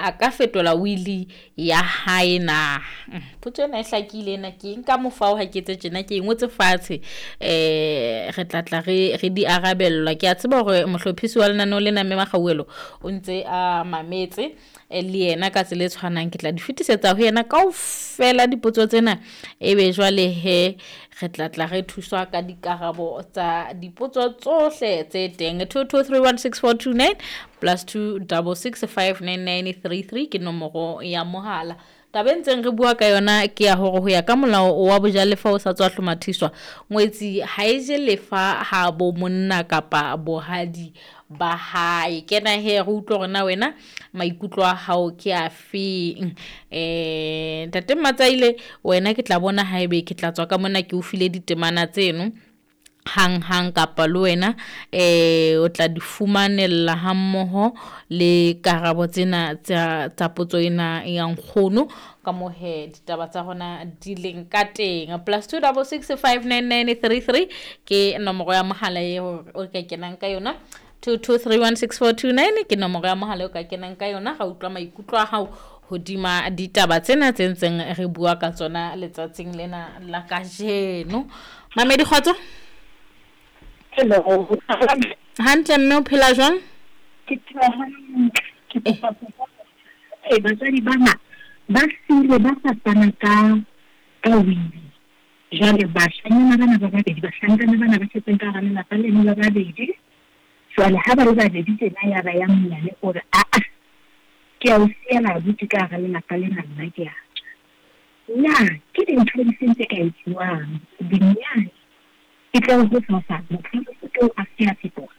A ka fetola wili ya hae na? Potso ena e hlakile ena, ke nka mofao ha ke etse tjena, ke e ngotse fatshe. Re tla tla re di arabellwa. Ke a tseba hore mohlophisi wa lenaneo lena mme Makgauwelo o ntse a mametse le yena ka tsela e tshwanang. Ke tla di fetisetsa ho yena kaofela dipotso tsena, ebe jwale he re tla tla re thuswa ka dikarabo tsa dipotso tsohle tse teng. 22316429 plus 26659933 ke nomoro ya mohala. Taba e ntseng re bua ka yona ke ya hore ho ya ka molao wa bojalefa o sa tswa hlomathiswa, ngwetsi ha e je lefa ha bo monna kapa bohadi ba hae. Kena he re utlwe hore na wena maikutlo a hao ke a feng. Ntate Matsaile, wena ke tla bona haebe ke tla tswa ka mona ke o file ditemana tseno hang hang, kapa le wena o tla di fumanella ha mmoho le karabo tsena tsa potso ena ya nkgono ka moo he ditaba tsa rona di leng ka teng. Plus 26659933 ke nomoro ya mohala eo o ka kenang ka yona. 22316429 ke nomoro ya mohala o ka kenang ka yona. Ra utlwa maikutlo a hao hodima ditaba tsena tse ntseng re bua ka tsona letsatsing lena la kajeno. Mamedi, kgotso. Hello. Hantle mme, o phela jwang? Ke phela hantle. Ke kopa ho botsa, batswadi bana ba siile ba sa fana ka wili. Jwale bashanyana bana ba babedi, bahlankana bana ba setseng ka hara lelapa leno ba babedi. Jwale ha ba le babedi tjena, ya ba ya monyane o re, aa, ke a o siela abuti ka hara lelapa lena, nna ke a tswa. Na ke dintho di feng tse ka etsuwang dinyane e tle ho sasa motho o a se a fetoha?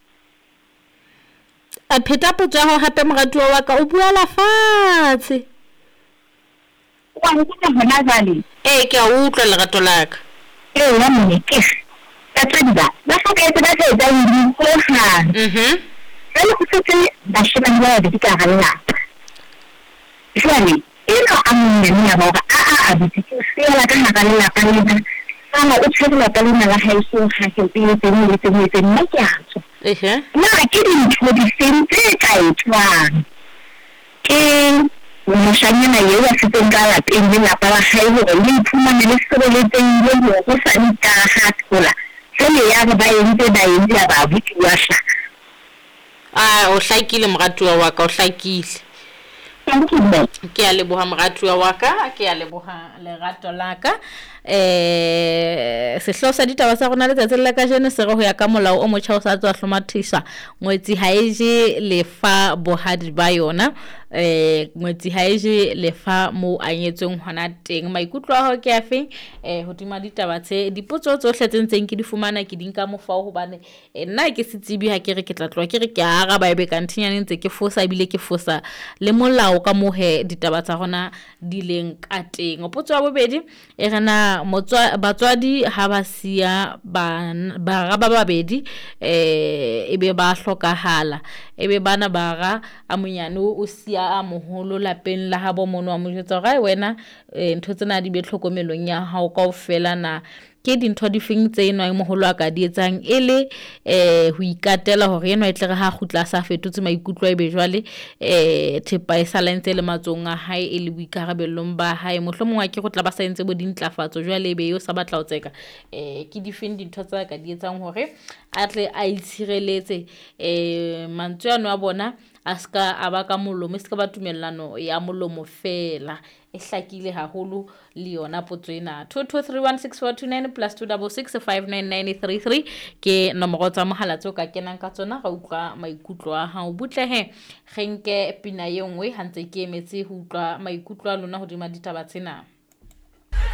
A pheta potso ya hao hape, moratuwa wa ka, o buela fatshe. Wa nkutlwa hona jwale? Ee, ke a utlwa lerato la ka. Ee, ya mme ke batswadi ba hlokahetse ba sa etsa wili hohang. Jwale ho setse bashemane ba babedi ka hara lelapa. Jwale enwa a monyane ya ba hore aa abuti ke o siela ka hara lelapa lena, sala o tshwere lelapa lena la haeso, o hahe, o etseng, o etseng, o etseng, nna ke a tswa. Na ke dintho di feng tse ka etswang ke moshanyana eo a setseng ka lapeng lelapa la hae hore le iphumane le sireletsehile hore hosane ka ha thola jwale ya re ba entse ya ba abuti wa hlaha? A o hlakile moratuwa wa ka, o hlakile. Thank you, mme. Ke a leboha moratuwa wa ka, ke a leboha lerato la ka. Sehlooho sa ditaba tsa rona letsatsing la kajeno se re ho ya ka molao o motjha o sa tswa hlomathisa, ngwetsi ha e je lefa bohadi ba yona. Ngwetsi ha e je lefa moo a nyetsweng hona teng. Maikutlo a hao ke a feng hodima ditaba tse? Dipotso tsohle tse ntseng ke di fumana ke di nka mofao, hobane nna ke se tsebi ha ke re ke tla tloha ke re ke a araba, ebe ka nthinyane ntse ke fosa, ebile ke fosa le molao ka moo he ditaba tsa rona di leng ka teng. Potso ya bobedi e re na batswadi ha ba siya bara ba babedi, ebe ba hlokahala, ebe bana bara a monyane o siya a moholo lapeng la habo mono, wa mo jwetsa hore ai wena, ntho tsena di be tlhokomelong ya hao kaofela. Na ke dintho di feng tse enwa e moholo a ka di etsang e le ho ikatela hore enwa e tle re ha kgutla a sa fetotse maikutlo, ebe jwale thepa e sala ntse le matsohong a hae, e le boikarabellong ba hae? Mohlomong a ke go tla ba sa entse bo dintlafatso jwale, ebe eo sa batla ho tseka. Ke di feng dintho tsa ka di etsang hore a tle a itshireletse, mantswe ano a bona a ska a ba ka molomo, e ska ba tumellano ya molomo fela? E hlakile haholo le yona potso ena. 22316429 plus 26659933 ke nomoro tsa mohala tseo ka kenang ka tsona, ra utlwa maikutlo a hao. Butle he re nke pina ye nngwe ha ntse ke emetse ho utlwa maikutlo a lona hodima ditaba tsena.